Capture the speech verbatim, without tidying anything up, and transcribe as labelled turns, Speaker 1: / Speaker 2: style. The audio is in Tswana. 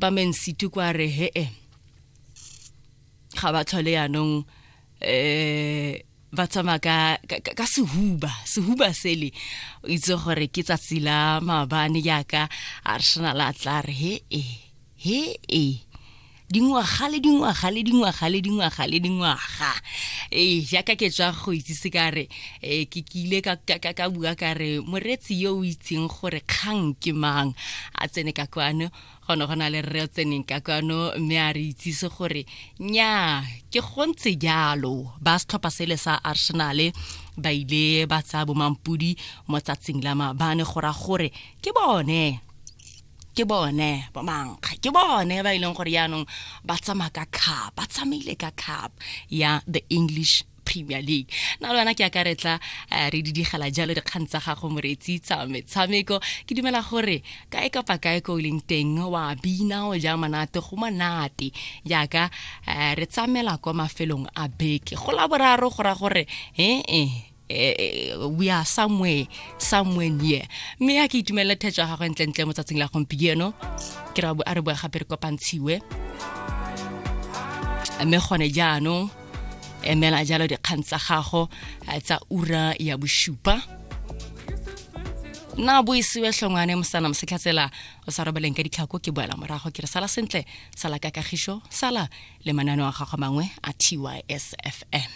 Speaker 1: Ba Man City kwa re he e ga ba tlhole yanong eh ba tsamaya ka, ka, ka sehuba sehuba sele o itse gore ke tsatsi la maabane jaaka Arsenal a tla re he e he e dingwaga le dingwaga le dingwaga le dingwaga le dingwaga ee jaaka ke tswa go itsise ka re eh, ke kile ka, ka, ka, ka bua ka re moreetsi yo o itseng gore kgang ke mang a tsene ka kwano gone go na le rre o tseneng ka kwano mme a re itsise gore nya ke go ntse jalo ba setlhopha sele sa Arsenal ba ile ba tsaya bomampodi mo tsatsing la maabane go ra gore ke bone ke bone bo mankga ke bone ba e leng gore yaanong ba tsamaya ka cup ba tsamaile ka cup ya the English Premier League. Na le wena ke akaretla eh, re didigela jalo dikgang tsa gago moreetsi tsa metshameko. Ke dumela gore kae kapa kae ko o leng teng wa bina o ja monate go monate jaaka eh, re tsamela kwa mafelong a beke go la boraro go ra gore eh eh eh, we are somewhere somewhere near mme ya ke itumelele thetso ya gagwe ntlentle mo tsatsing la gompieno ke ra a re boe gape re kopantshiwe mme gone jaanong emela jalo dikgang tsa gago eh, tsa ura ya bosupa nna boisiwe hlongwane mosana mosetlhatsela o sa robaleng ka ditlhako ke boela morago ke re sala sentle sala ka kagišo sala le mananeo a gago mangwe a T Y S F M.